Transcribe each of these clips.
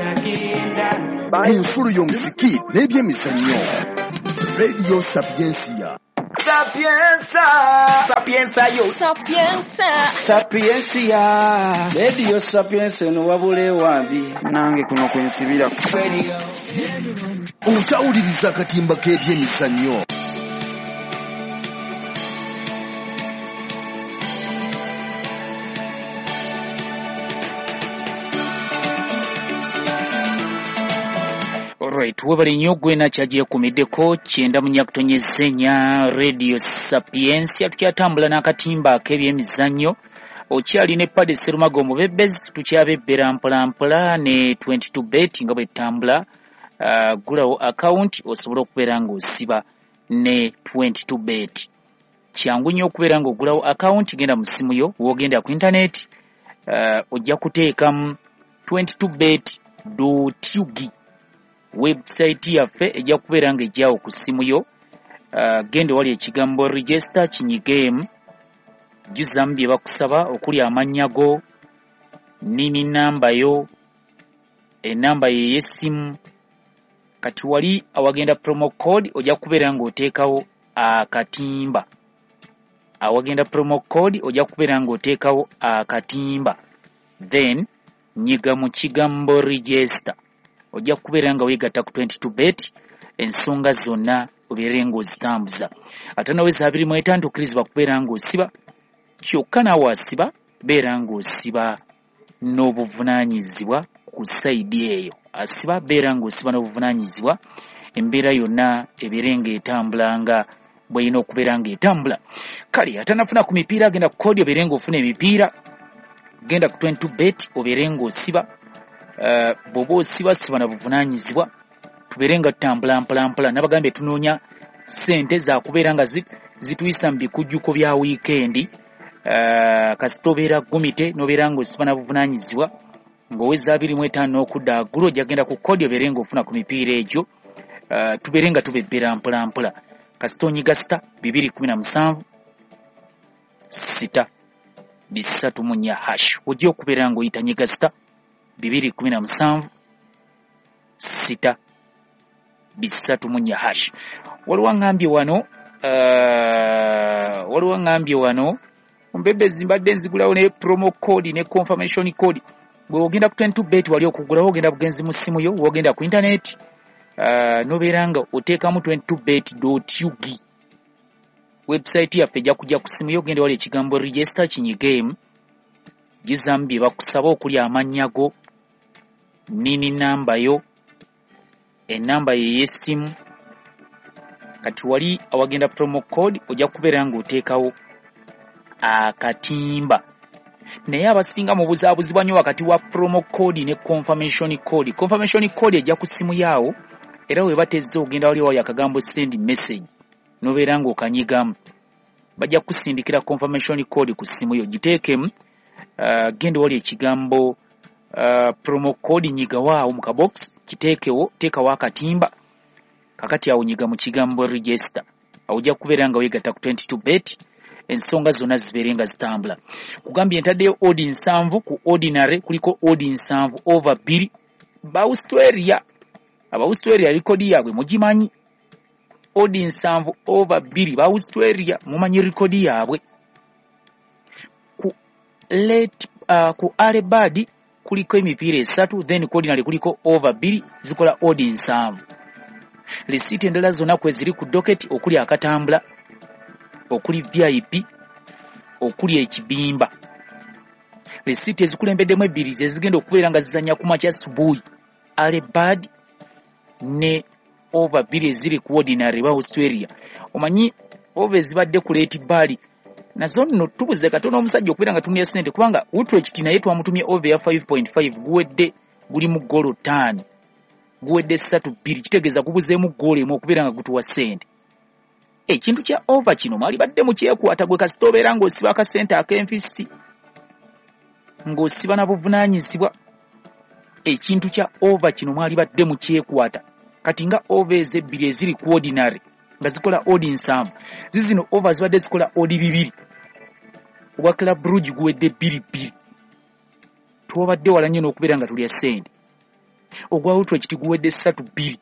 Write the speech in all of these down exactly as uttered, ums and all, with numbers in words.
Ku nsulo y'omuziki n'ebyemizannyo, Radio Sapiensia. Sapienza, Sapienza yo, Sapienza, Sapiensia. Radio Sapienza eno wabula ewambi nange kuno kwensibira. Okyawuliriza akatimba k'ebyemizannyo. Alright, webale nnyo gwe nakyagyeekumiddeko kyenda munyakutonyeza ennya Radio Sapiensia. Tukyatambula n'akatimba ak'ebyemizannyo, okyali ne Paddy Serumago omubebezi, tukyabebbera mpolampola ne twenty-two bet nga bwe tutambula. Uh, gulawo account osobola okubeera ng'osiba ne twenty-two bet. Kyangu nnyo okubeera ng'ogulawo account, genda mu ssimu yo, w'ogenda ku internet, uh, ojja kuteekamu twenty-two bet dot U G. Website yaffe ejja kubeera ng'ejjawo ku ssimu yo. Uh, genda wali ekigambo register kinyigeemu, jjuzamu bye bakusaba okuli amannya go, nini namba yo, enamba ye ey'essimu. Kati wali awagenda promo code ojja kubeera ng'oteekawo akatimba. Awagenda promo code ojja kubeera ng'oteekawo akatimba, then nyiga mu kigambo register, ojja kubeera nga weegatta ku twenty-two bet, ensonga zonna obeere ng'ozitambuza. Ate naweza abiri mu etaano tokkirizibwa kubeera ng'osiba, kyokka naawe asiba beera ng'osiba n'obuvunaanyizibwa ku sayidi eyo. Asiba beera ng'osiba n'obuvunaanyizibwa, embeera yonna ebeere ng'etambula nga bw'erina okubeera ng'etambula. Kale atanafuna ku mipiira agenda ku kodi obeere ng'ofuna emipiira, genda ku twenty-two bet obeere ng'osiba. Uh, bw'oba osiba siba na buvunaanyizibwa, tubeere nga tutambula mpolampola. Nabagambye tunoonya ssente za kubeera nga zituyisa mu bikujjuko bya wiikendi. Uh, kasita obeera gumite n'obeera ng'osiba na buvunaanyizibwa, ng'oweza abiri mu etaano n'okudda waggulu ojja kugenda ku kodi obeere ng'ofuna ku mipiira egyo. Uh, tubeere nga tubebbera mpolampola. Kasita onyiga sita bibiri kumi na musanvu sita bisatu mu nnya hash, ojja okubeera ng'oyita nyiga sita bibiri kumi na musanvu sita bisatu mu nnya hash. Waliwo aŋŋambye wano, uh, waliwo aŋŋambye wano mbebezi mbadde nzigulawo ne promo code ne confirmation code. Bwe ogenda ku twenty-two bet wali okugulawo, ogenda bugenzi mu ssimu yo, wogenda ku internet, uh, n'obeera nga oteekamu twenty-two bet dot U G. Website yaffe ejja kujja ku ssimu yo, ogenda wali ekigambo register kinyigeemu, jjuzamu bye bakusaba okuli amannya go, nini namba yo, enamba ye ey'essimu. Kati wali awagenda promo code ojja kubeera ng'oteekawo akatimba. Naye abasinga mubuzaabuzibwa nnyo wakati wa promo code ne confirmation code. Confirmation code ejja ku ssimu yaawo, era we batezze ogenda wali wali akagambo send message n'obeera ng'okanyigamu, bajja kukusindikira confirmation code ku ssimu yo, giteekemu. Uh, genda wali ekigambo uh, promo code nyigawo mu kabox, kiteekewo, teekawo akatimba. Kakati awo nyiga mu kigambo register, awo ojja kubeera nga weegatta ku twenty-two bet, ensonga zonna zibeere nga zitambula. Kugambye ntaddeyo odi nsanvu ku ordinary, kuliko odi nsanvu over bbiri. Ba Australia, aba Australia rekodi yaabwe mugimanyi, odi nsanvu over bbiri. Ba Australia mumanyi rekodi yaabwe. Ku late, uh, ku early bird kuliko emipiira esatu, then ku ordinary kuliko over bbiri, zikola odi nsanvu. Risiiti endala zonna kwe ziri ku docket, okuli akatambula, okuli V I P, okuli ekibimba. Risiiti ezikulembeddemu ebbiri ze zigenda okubeera nga zizannya ku makya subuhi, early bird ne over bbiri eziri ku ordinary ba Australia. Omanyi over ezibadde ku late bird nazo nno tubuze katono omusajja okubeera nga tumya ssente, kubanga Utrecht naye twamutumye over ya five point five, guwedde guli mu ggoolo ttaano, guwedde ssatu bbiri, kitegeeza gubuzeemu ggoolo emu okubeera nga gutuwa ssente. Ekintu kya over kino mwali badde mukyekwata gwe kasita obeera ng'osiba akasente ak'enfisi, ng'osiba na buvunaanyizibwa. Ekintu kya over kino mwali badde mukyekwata. Kati nga over ezebbiri eziri ku ordinary nga zikola odi nsanvu, zizino over zibadde zikola odi bibiri, obwa Club Brugge guwedde bbiri bbiri. Twabadde wala nnyo n'okubeera nga tulya ssente. Ogwa Utrecht guwedde ssatu bbiri.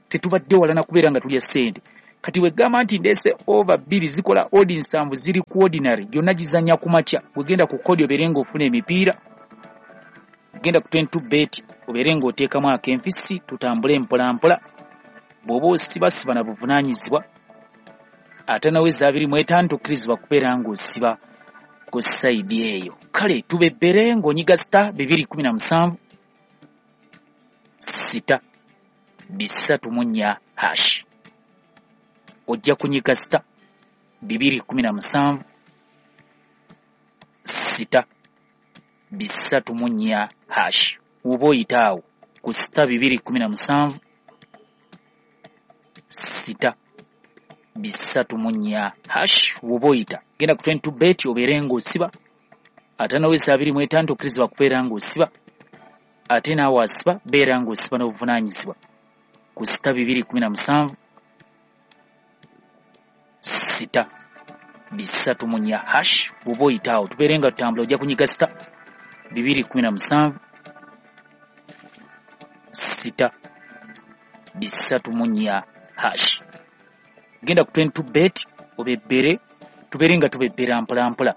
Tetubadde wala na kubeera nga tulya ssente. Kati wegamba nti ndeese over bbiri zikola odd nsanvu ziri ku ordinary, gyonna gizannya ku makya. Wegenda ku kodi obeere ng'ofuna emipiira, genda ku twenty-two bet obeere ng'oteekamu ak'enfisi, tutambule mpola mpola. Bw'oba osiba siba na buvunaanyizibwa, ate naweza abiri mu etaano tokkirizibwa kubeera ng'osiba ku side eyo. Kale tubebbere ng'onyiga star bibiri kumi na musanvu sita bisatu mu nnya hash. Ojja kunyiga star bibiri kumi na musanvu sita bisatu mu nnya hash. Oba oyita awo ku star bibiri kumi na musanvu sita bisatu mu nnya hash. Oba oyita genda ku twenty-two bet obeere ng'osiba, ate naweza abiri mu etaano tokkirizibwa kubeera ng'osiba, ate naawe asiba beera ng'osiba n'obuvunaanyizibwa ku star bibiri kumi na musanvu sita bisatu mu nnya hash. Bw'oba oyita awo tubeere nga tutambula, ojja kunyiga star bibiri kumi na musanvu sita bisatu mu nnya hash. Genda ku twenty-two bet obebbere, tubeere nga tubebbera mpola mpola.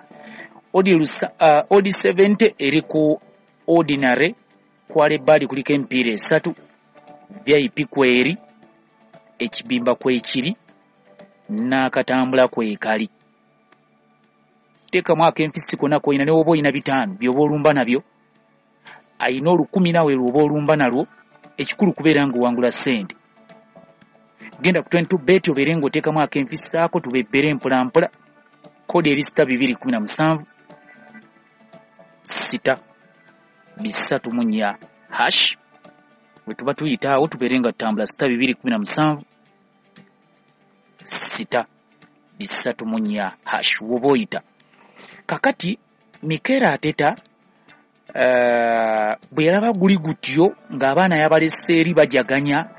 Odd lusa, uh, odd seventy eri ku ordinary, kwale bali kuliko emipiira esatu, V I P kweri, ekibimba kwekiri, n'akatambula kwekali. Teekamu ak'enfisi konna k'olina, ne bw'oba olina bitaano by'oba olumba nabyo, ayina olukumi naawe lw'oba olumba nalwo, ekikulu kubeera ng'owangula ssente. Genda ku twenty-two bet obeere ng'oteekamu ak'enfisi ako, tubebbere mpola mpola. Kodi eri star bibiri kumi na musanvu sita bisatu mu nnya hash. Bwe tuba tuyita awo tubeere nga tutambula star bibiri kumi na musanvu sita bisatu mu nnya hash. Woba oyita kakati Mikel Arteta uh, bwe yalaba guli gutyo ng'abaana yabalese eri bajaganya,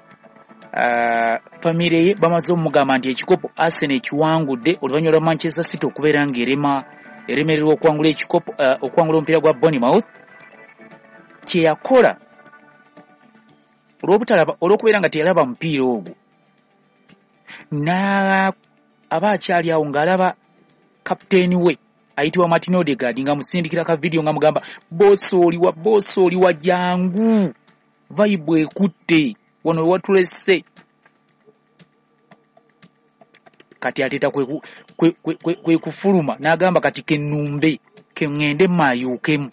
uh, famire ye bamaze omugamba nti ekikopo Arsenal ekiwangudde oluvannyuma lwa Manchester City okubeera ng'erema eremererwa okuwangula ekikopo, uh, okuwangula omupiira gwa Bournemouth. Kye yakola olw'obutalaba, olw'okubeera nga teyalaba mupiira ogwo, na aba akyali awo ng'alaba kapiteeni we ayitibwa Martin Odegaard nga musindikira ka video nga mugamba boss oliwa, boss oliwa, jangu vibe ekutte wano watulese. Kati Arteta kwe, kwe, kwe, kwe, kwe kufuluma n'agamba kati kennumbe keŋŋende mmayuukemu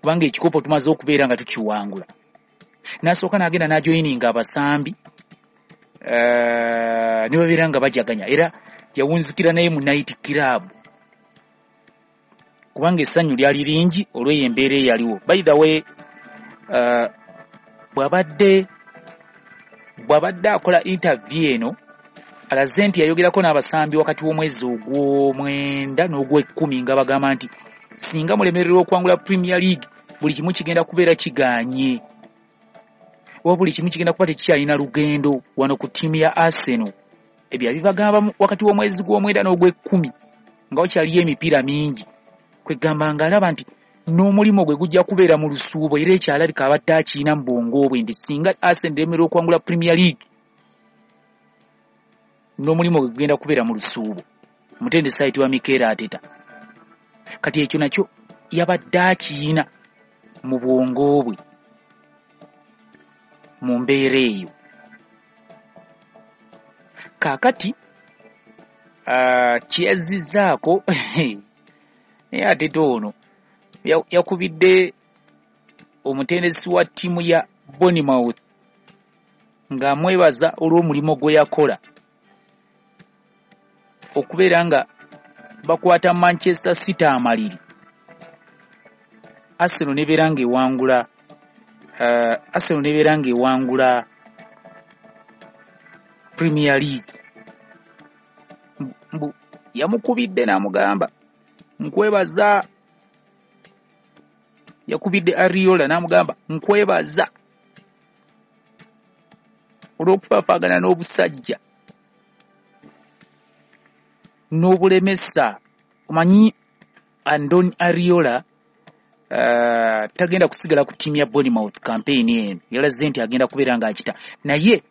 kubanga ekikopo tumaze okubeera nga tukiwangula. N'asooka n'agenda n'ajoyininga abasambi, uh, ne babeera nga bajaganya, era yawunzikira naye mu night club kubanga essanyu lyali lingi olw'eyo embeera eyaliwo. By the way, uh, bw'abadde bw'abadde akola interview eno alaze nti yayogerako n'abasambi wakati w'omwezi ogw'omwenda n'ogw'ekkumi nga bagamba nti singa mulemererwa okuwangula Premier League buli kimu kigenda kubeera kigaanye, oba buli kimu kigenda kuba tekikyalina lugendo wano ku ttiimu ya Arsenal. Ebyo yabibagamba wakati w'omwezi gw'omwenda n'ogw'ekkumi nga wakyaliyo emipiira mingi. Kwegamba ng'alaba nti n'omulimu gwe gujja kubeera mu lusuubo, era ekyalabika abadde akirina mu bwongo bwe nti singa Arsenal eremererwa okuwangula Premier League n'omulimu gwe gugenda kubeera mu lusuubo. Omutendesi ayitibwa Mikel Arteta. Kati ekyo nakyo yabadde akirina mu bwongo bwe mu mbeera eyo. Kaakati uh, kyeyazizzaako naye Arteta ono yakubidde omutendesi wa ttiimu ya Bournemouth ng'amwebaza olw'omulimu gwe yakola okubeera nga bakwata Manchester City amaliri, Arsenal nebeera ng'ewangula uh, Arsenal nebeera ng'ewangula Premier League. Mbu yamukubidde n'amugamba nkwebaza, yakubidde Ariola n'amugamba nkwebaza olw'okufaafaagana n'obusajja n'obulemesa. Omanyi Andoni Ariola uh, tagenda kusigala ku ttiimu ya Bournemouth campaign eno, yalaze nti agenda kubeera ng'akita. Naye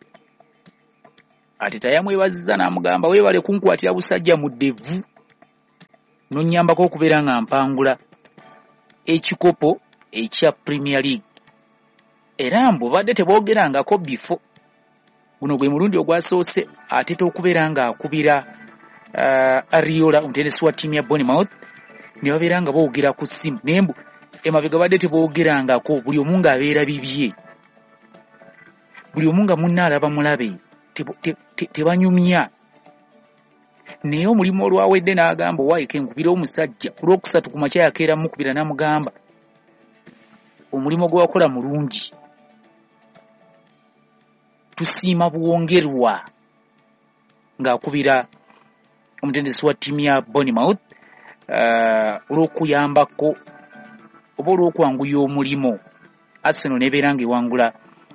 Arteta yamwebazizza n'amugamba weebale kunkwatira busajja mu ddevu nonnyambako okubeera nga mpangula ekikopo ekya Premier League. Era mbu badde teboogerangako bifo, guno gwe mulundi ogwasoose Arteta okubeera ng'akubira uh, Ariola omutendesi wa ttiimu ya Bournemouth ne babeera nga boogera ku ssimu, naye mbu emabega badde teboogerangako, buli omu ng'abeera bibye, buli omu nga munne alaba mulabe, tebanyumya. Naye omulimu olwawedde n'agamba owaaye nkubira omusajja ku lwokusatu ku makya yakeera mukubira n'amugamba omulimu gwe wakola mulungi, tusiima buwongerwa, ng'akubira omutendesi wa ttiimu ya Bournemouth olw'okuyambako oba olw'okwanguya omulimu Arsenal n'ebeera ng'ewangula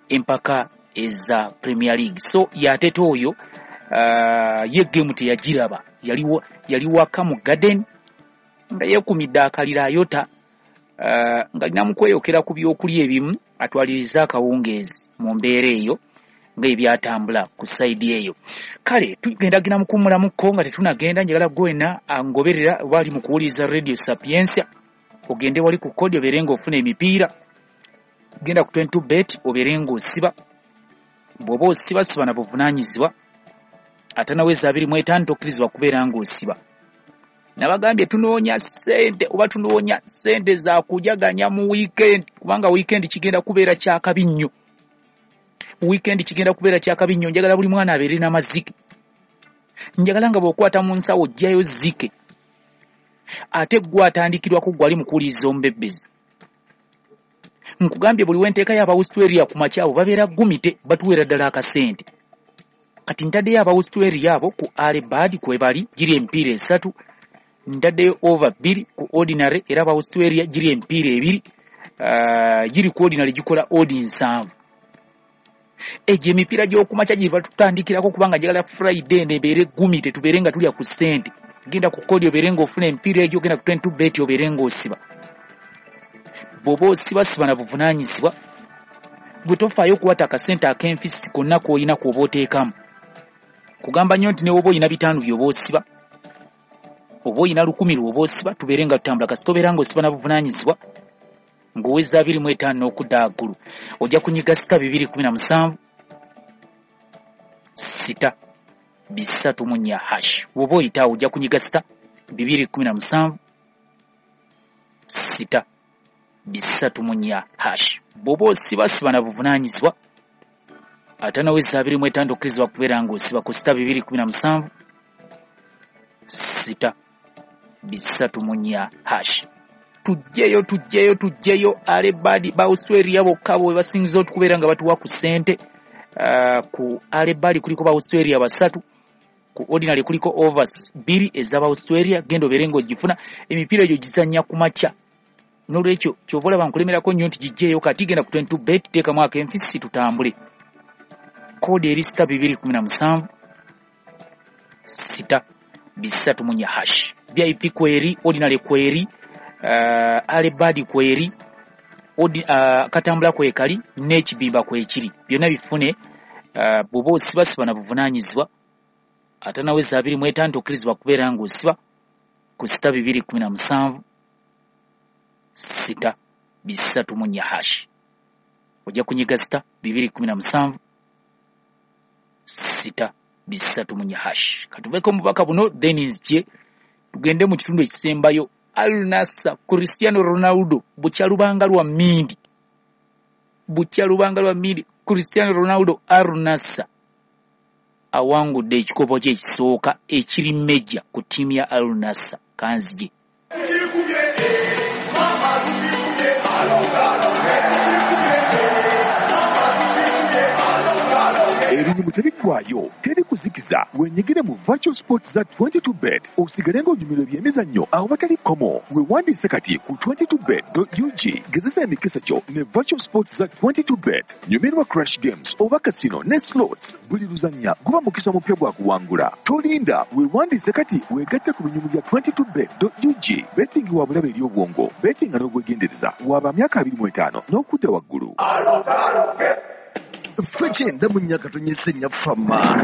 empaka eza Premier League. So y'Arteta oyo uh, ye game teyagiraba, yali waka mu garden nga yeekumidde akaliro ayota, uh, ng'alina mu kweyokera ku byokulya ebimu atwaliriza akawungeezi mu mbeera eyo ng'ebyatambula ku sayidi eyo. Kale tugendagenda mu kuwummulamukko nga tetunagenda, njagala gwena angoberera oba ali mu kuwuliriza Radio Sapientia ogende wali ku kodi obeere ng'ofuna emipiira, genda ku twenty-two bet obeere ng'osiba, bw'oba osiba siba na buvunaanyizibwa, ate naweza abiri mu etaano tokkirizibwa kubeera ng'osiba. Nabagambye tunoonya ssente oba tunoonya ssente za kujaganya mu weekend, kubanga weekend kigenda kubeera kyakabi nnyo. Weekend kigenda kubeera kyakabi nnyo. Njagala buli mwana abeere n'amazike, njagala nga bw'okwata mu nsawo ojjayo zike, ate gwe atandikirwako gwali mu kuwuliriza omubebbezi. Nkugambye buli wenteekayo aba Australia ku makya abo babeera gumite, batuweera ddala akasente. Kati ntaddeyo aba Australia abo ku early bird kwe bali giri emipiira esatu, ntaddeyo over bbiri ku ordinary, era aba Australia giri emipiira ebiri, uh, giri ku ordinary gikola odd nsanvu. Egyo emipiira gy'okumakya gye batutandikirako kubanga njagala Friday eno ebeere gumite, tubeere nga tulya ku ssente. Genda ku kodi obeere ng'ofuna emipiira egyo, genda ku twenty-two bet obeere ng'osiba. Bw'oba osiba siba na buvunaanyizibwa, gwe tofaayo okukwata akasente ak'enfisi konna k'olina k'oba oteekamu. Kugamba nnyo nti ne bw'oba olina bitaano by'oba osiba, oba olina lukumi lw'oba osiba, tubeere nga tutambula. Kasita obeera ng'osiba na buvunaanyizibwa ng'oweza abiri mu etaano n'okudda waggulu, ojja kunyiga sita bibiri kumi na musanvu sita bisatu mu nnya hash. Bw'oba oyitaawo ojja kunyiga sita bibiri kumi na musanvu sita bisatu mu nnya hash. Bw'oba osiba siba na buvunaanyizibwa, ate naweza abiri mu etaano tokkirizibwa kubeera ng'osiba ku sita bibiri kumi na musanvu sita bisatu mu nnya hash. Tujjeyo tujjeyo tujjeyo early bird ba Australia bokka bwe basingiza okubeera nga batuwa ku ssente. Uh, ku early bird kuliko ba Australia basatu, ku ordinary kuliko overs bbiri ez'aba Australia, genda obeere ng'ogifuna. Emipiira egyo gizannya ku makya, n'olwekyo ky'ova olaba nkulemerako nnyo nti gijjeeyo kati. Genda ku twenty-two bet teekamu ak'enfisi tutambule. Koodi eri sita bibiri kumi na musanvu sita bisatu mu nnya hash. V I P kweri, ordinary kweri, uh, early bird kweri, odi, uh, katambula kwekali n'ekibimba kwekiri, byonna bifune. uh, bw'oba osiba siba na buvunaanyizibwa, ate naweza abiri mu etaano tokkirizibwa kubeera ng'osiba ku sita bibiri kumi na musanvu sita bisatu mu nnya hash. Ojja kunyiga sita bibiri kumi na musanvu sita bisatu mu nnya hash. Katuveeko omubaka buno then nzije tugende mu kitundu ekisembayo. Al Nassr Cristiano Ronaldo bukya lubanga lwa mmindi, bukya lubanga lwa mmindi. Cristiano Ronaldo Al Nassr awangudde ekikopo kye ekisooka ekiri meja ku ttiimu ya Al Nassr. Kanzije Ebinyumu tebiggwaayo, teri kuzikiza. Wenyigire mu virtual sports za twenty-two bet osigale ng'onyumirwa ebyemizannyo awatali kkomo. Weewandiise kati ku twenty-two bet dot U G. Gezesa emikisa gyo ne virtual sports za twenty-two bet. Nyumirwa crash games oba casino ne slots. Buli luzannya guba mukisa mupya gwa kuwangula. Tolinda, weewandiise kati weegatte ku binyumu bya twenty-two bet dot U G. Betting wa bulabe eri obwongo. Betting n'obwegendereza. Waba myaka abiri mu etaano n'okudda waggulu. Ffe kyenda mu nnya katonyese nnyaffe amma.